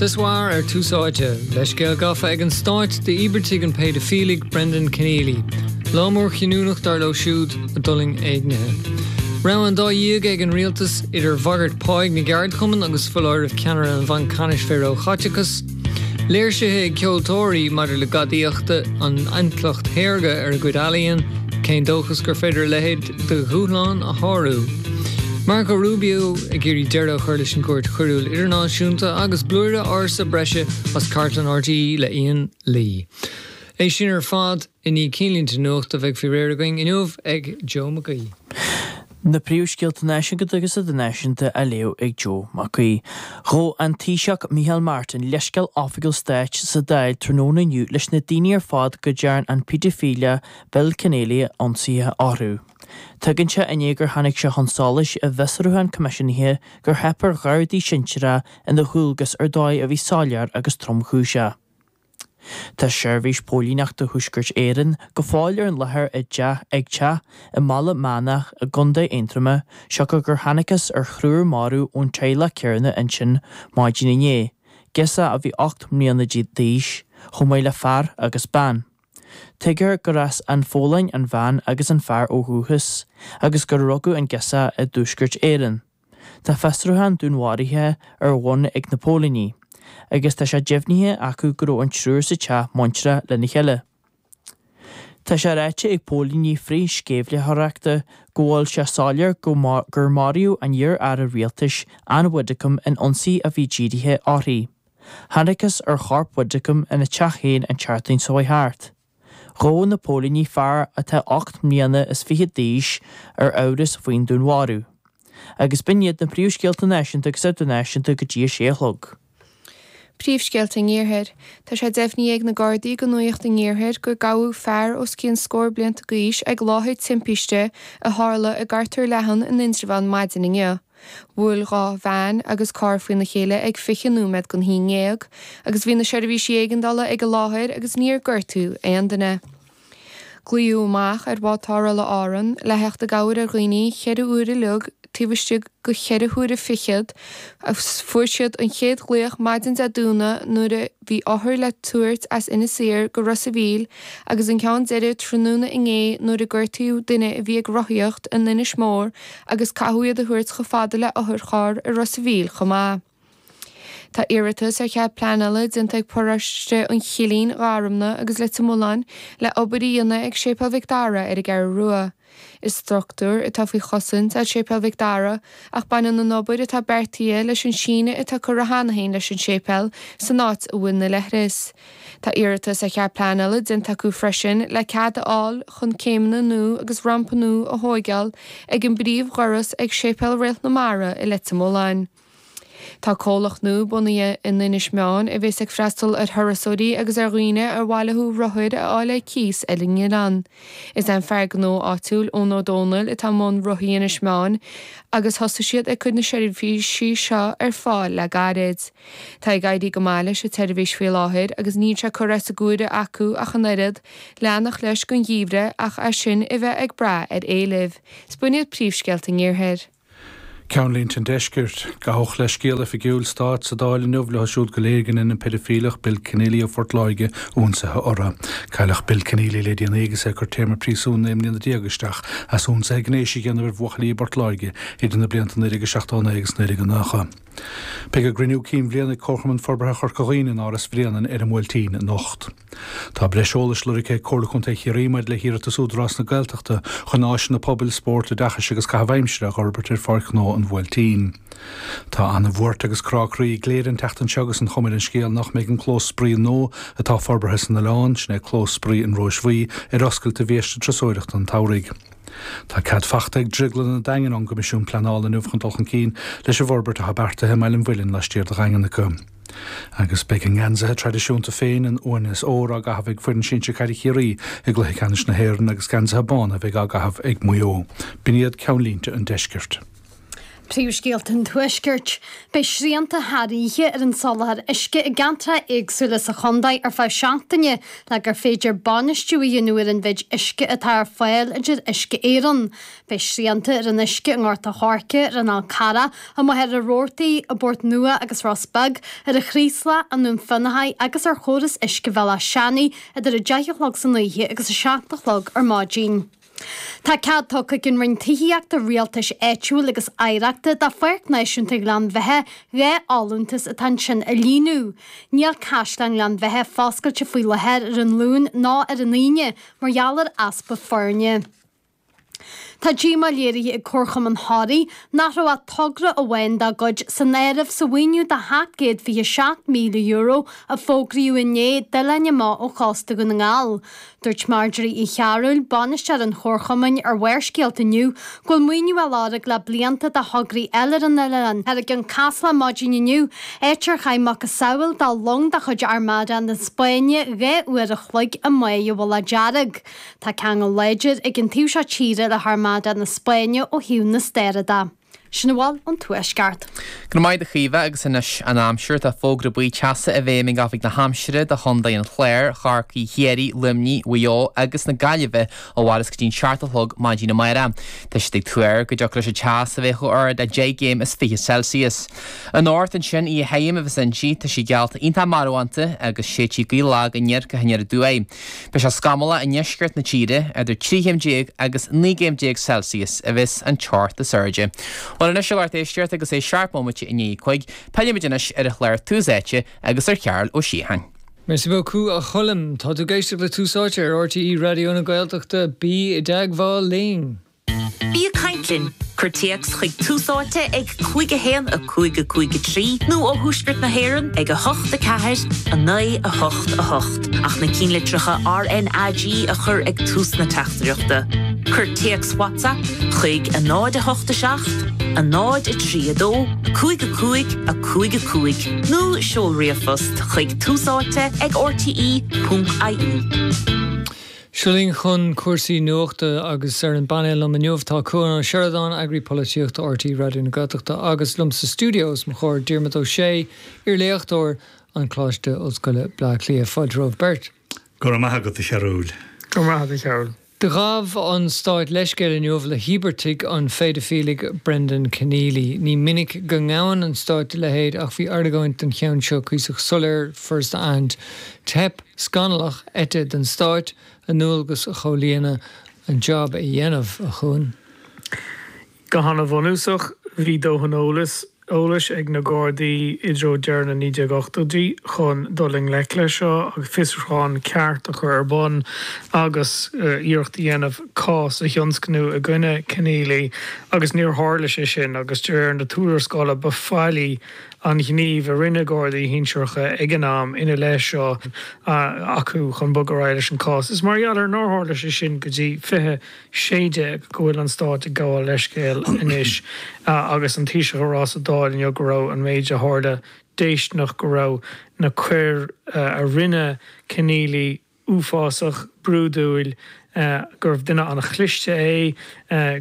Ce soir ar Tús Áite, leithscéal gafa ag an Stát d'íobartaigh an phéidifiligh Brendan Kenneally. Lá mór cinniúnach dar leo siúd a d'fhulaing éignithe. Rogha an dá dhíog ag an rialtas idir bhagairt páigh na gceardchumann agus foláireamh ceannaire an Bhainc Ceannais fé ró-chaiteachas. Léirsithe ag ceoltóirí maidir le gadaíochta an intleacht shaorga ar a gcuid ealaíon, cén dóchas gur féidir a leithéid de dhúshlán a shárú? Marco Rubio ag iarraidh deireadh a chur leis an gCúirt Choiriúil Idirnáisiúnta agus blúire ársa breise as cartlann RTÉ le Ian Lee. É sin ar fad. I ndiaidh cinnlínte nuachta a bheidh faoi réir againn inniu ag Joe Mac Aoidh. Na príomhscéalta náisiúnta agus idirnáisiúnta á léamh ag Joe Mac Aoidh. Ghabh an Taoiseach Micheál Martin leithscéal oifigiúil stáit sa Dáil tráthnóna inniu leis na daoine ar fad go dtearn an péidifileach Bill Kenneally ionsaithe orthu. Tagann sé i ndiaidh gur tháinig sé chun solais i bhfiosrúchán coimisiúnaithe gur theip ar ghardaí sinsearacha ina ndualgas ar dóigh a bhí soiléir agus tromchúiseach. Tá Seirbhís Póilíneachta Thuaisceart Éireann go fóill ar an láthair i dteach ag teach i mBaile Meánach i gContae Aontroma siocair gur thángthas ar thriúr marbh ón teaghlach céanna ansin maidin inné, girseach a bhí 8 mbliana d'aois, chomh maith le fear agus bean. Tuigtear gur as an Pholainn an bhean agus an fear ó dhúchas, agus gur rugadh an girseach i dTuaisceart Éireann. Tá fiosrúchán dúnmharaithe ar bhun ag na póilíní, agus tá sé deimhnithe acu go raibh an triúr sa teach bainteach lena chéile. Tá sé ráite ag póilíní frith-sceimhlitheoireachta go bhfuil sé soiléir go gur maraíodh an iar-aire rialtais Ann Widdecombe in ionsaí a bhí dírithe uirthi. Thángthas ar chorp Widdecombe ina teach féin an tseachtain seo chuaigh thart. Ghabh na póilíní fear atá 8 mbliana is fichead d'aois ar amhras faoin dúnmharú. Agus b'in iad na príomhscéalta náisiúnta agus idirnáisiúnta go dtí a sé a chlog. Príomhscéalta an Iarthair. Tá sé deimhnithe ag na Gardaí do Nuacht an Iarthair gur gabhadh fear os cionn scór blianta d'aois ag láthair timpiste a tharla i gCartúr Leathan in Indreabhán maidin inniu. Bhuail 2 veain agus carr faoina chéile ag 20 nóiméad don haon ndéag agus bhí na seirbhísí éigeandála ag an láthair agus níor gortaíodh aon duine. Glaodh amach ar bhád tarrthála Árann le theacht i gcabhair ar dhaoine cheithre uair a chloig taobh istigh go cheithre huaire fichead agus fuair siad an chéad ghlaoch maidin Dé Domhnaigh nuair a bhí othair le tabhairt as Inis Oírr go Ros a' Mhíl agus an ceann deiridh tráthnóna inné nuair a gortaíodh duine a bhí ag rothaíocht in Inis Mór agus caitheadh iad a thabhairt chomh fada le otharcharr i Ros a' Mhíl chomh maith. Tá iarratas ar chead pleanála déanta ag paróiste an Chillín, Gharumna agus Leitir Mealláin le obair a dhéanamh ag Séipéal Mhic Dara ar an gCeathrú Rua. Is struchtúr atá faoi chosaint é Séipéal Mhic Dara ach baineann an obair atá beartaithe leis an síneadh atá curtha cheana féin leis an séipéal san áit a bhfuil na leithris. Tá iarratas ar chead pleanála déanta acu freisin le cead a fháil chun céimeanna nua agus rampa nua a thóigeáil ag an bpríomhdhoras ag Séipéal Réalt na Mara i Leitir Mealláin. Tá comhlacht nua bunaithe in Inis Meáin a bhéas ag freastal ar thurasóirí agus ar dhaoine ar mhaith leo rothair a fháil ar cíos ar an oileán. Is é an fear gnó áitiúil Eoin Ó Dónaill atá i mbun Rothaí Inis Meáin agus thosaigh siad ag cur na seirbhísí seo ar fáil le gairid. Tá ag éirí go maith leis an tseirbhís faoi láthair agus níl sé curtha as a gcomhair acu ach an oiread, leanacht leis don gheimhreadh ach é sin a bheith ag brath ar éileamh. 'S b'in iad príomhscéalta an Iarthair. Ceannlínte an Deiscirt. Gabhadh leithscéal oifigiúil stáit sa Dáil inniu leo siúd go léir go ndein an peidifíleach Bill Kenneally ó Phort Láirge ionsaithe orthu. Cailleadh Bill Kenneally le déanaí agus é ag cur téarma príosúin 19 mbliana isteach as ionsaithe gnéis a dhéanamh ar bhuachaillí i bPort Láirge idir na blianta 1979 agus 1990. Beidh a gcruinniú cinn bhliana ag Comharchumann Forbartha Chorca Dhuibhne in Áras Bhréanainn ar an mBuailtín anocht. Tá breis eolais lorgtha ag Comhairle Contae Chiarraí maidir le hiarratas Údarás na Gaeltachta chun áiseanna pobail, spóirt, oideachais agus caitheamh aimsire a dh'fhorbairt ar Pháirc Ghnó an Bhuailtín. Tá an-bhuairt agus crá croí i gCléire an tseachtain seo agus an chuma ar an scéal nach mbeidh an clós spraoi nua atá forbartha san oileán, sin é Clós Spraoi an Róis Bhuí, ar oscailt do bhiaiste turasóireachta an tsamhraidh. Tá cead fachta ag Drioglann an Daingin ón gCoimisiún Pleanála inniu chun dul chun cinn leis an bhforbairt atá beartaithe i mBaile an Mhuilinn laistiar de Dhaingean acu. Agus beidh a ngeansaithe traidisiúnta féin, an uaine is ór, á gcaitheamh ag foireann sinsir caide Chiarraí i gcluiche ceannais na hÉireann agus geansaithe bána a bheidh á gcaitheamh ag Maigh Eo. B'in iad ceannlínte an deiscirt. Príomhscéalta an Tuaiscirt. Beidh srianta thar oíche ar an soláthar uisce i gceantracha éagsúla sa chontae ar feadh seachtaine le gur féidir bainistiú a dhéanamh ar an mhéid uisce atá ar fáil, a deir Uisce Éireann. Beidh srianta ar an uisce i nGort a' Choirce, ar an Fhál Carrach, i Machaire Rabhartaigh, i bPort Nua agus Ros Beag, ar an Chraoslach, i nDún Fionnachaidh agus ar chóras uisce Bhéal Átha Seanaidh idir 10 a chlog san oíche agus 7 a chlog ar maidin. Tá cead tugtha ag an Roinn Tithíochta, Rialtais Áitiúil agus Oidhreachta do Pháirc Náisiúnta Ghleann Bheatha 2 fholúntas atá ansin a líonadh. Níl Caisleán Ghleann Bheatha foscailte faoi láthair ar an Luan ná ar an Aoine mar gheall ar easpa foirne. Tá díomá léirithe ag Comharchumann Thoraí nach raibh ach togra amháin dá gcuid san áireamh sa mhaoiniú de €727,000 a fógraíodh inné d'oileáin amach ó chósta Dhún na nGall. Dúirt Marjorie Uí Chearúil, bainisteoir an Chomharchumainn, ar Bharrscéalta inniu go bhfuil maoiniú á lorg le blianta do thograí eile ar an oileán. Ar an gCeann Caslach maidin inniu, áit ar chaith macasamhail de long de chuid Armada na Spáinne 2 uair a chloig i mbáigh an Mhullach Dearg. Tá ceangal láidir ag an taobh seo tíre le hArmada na Spáinne ó thaobh na staire de. Sin a bhfuil ón Tuaisceart. Go raibh maith agat a Chaoimhe agus anois an aimsir. Tá fógra buí teasa i bhfeidhm ag Oifig na hAimsire do Chontae an Chláir, Chorcaí, Chiarraí, Luimnigh, Mhaigh Eo agus na Gaillimhe a mhairfeas go dtí'n seacht a chlog maidin amárach. Tá siad ag tuar go dtiocfaidh leis an teas a bheith chomh ard le 10 gcéim is 20 Celsius. Anocht ansin, oíche thirim a bheas inti, tá sí geallta iontach marbhánta agus séidfidh gaoth lag aniar go haniar aduaidh. Beidh sé scamallach i ndeisceart na tíre, idir 13 chéim agus 19 gcéim Celsius a bheas an teocht is airde. Bhuel anois a lucht éisteachta agus é seacht mbomaite i ndiaidh a cúig, pillfimid anois ar an chlár Tús Áite agus ar Chearbhall Ó Síocháin. Merci beaucoup a Choilm. Tá tú ag éisteacht le Tús Áite ar RTÉ Raidió na Gaeltachta. Bí i dteagmháil linn! Bí ag caint linn! Cuir téacs chuig Tús Áite ag 5 1 5 5 3 nó ó Thuaisceart na hÉireann ag 8 4 9 8 8 ach na cinnlitreacha RnaG a chur ag tús na teachtaireachta. Cuir téacs WhatsApp chuig 0 8 7 0 3 2 5 5 5 5 nó seol ríomhphost chuig túsáite ag rte.ie. Seo linn chun cúrsaí nuachta agus ar an bpainéal liom inniu tá Cuan Ó Seireadáin, Eagraí Polaitíochta RTÉ Raidió na Gaeltachta agus liom sa stiúideo os mo chomhair Diarmuid Ó Sé, iarléachtóir an Choláiste Ollscoile Bleá Cliath. Fáilte romhaibh beirt. Go raibh maith agat a Chearúil. Go raibh maith agat a Chearúil. Do ghabh an Stát leithscéal inniu le híobartaigh an phéidifiligh Brendan Kenneally. Ní minic go ngabhann an Stát a leithéid ach bhí argóint don cheann seo cuíosach soiléir, furasta a aithint. Teip scannalach eite den Stáit a ndualgas a chomhlíonadh, an jab a dhéanamh, a Chuain. Go han-bhunúsach, bhí dóthain eolas eolais ag na Gardaí i dtreo deireadh na 1980idí chun dul i ngleic leis seo agus fiosrúchán ceart a chur ar bun agus iarracht a dhéanamh cás a thionscnú i gcoinne Kenneally agus níor tharla sé sin agus de réir na tuarascála ba faillí an gníomh a rinne Gardaí shinsearacha ag an am ina leith seo acu chun bogadh ar aghaidh leis an cás. Is mar gheall ar nár tharla sé sin go dtí 2016 go bhfuil an Stát ag gabháil leithscéil anois agus an Taoiseach ag rá sa Dáil inniu go raibh an méid a tharla déistineach, go raibh na coir a rinne Kenneally uafásach, brúidiúil, gurbh duine an-chliste é.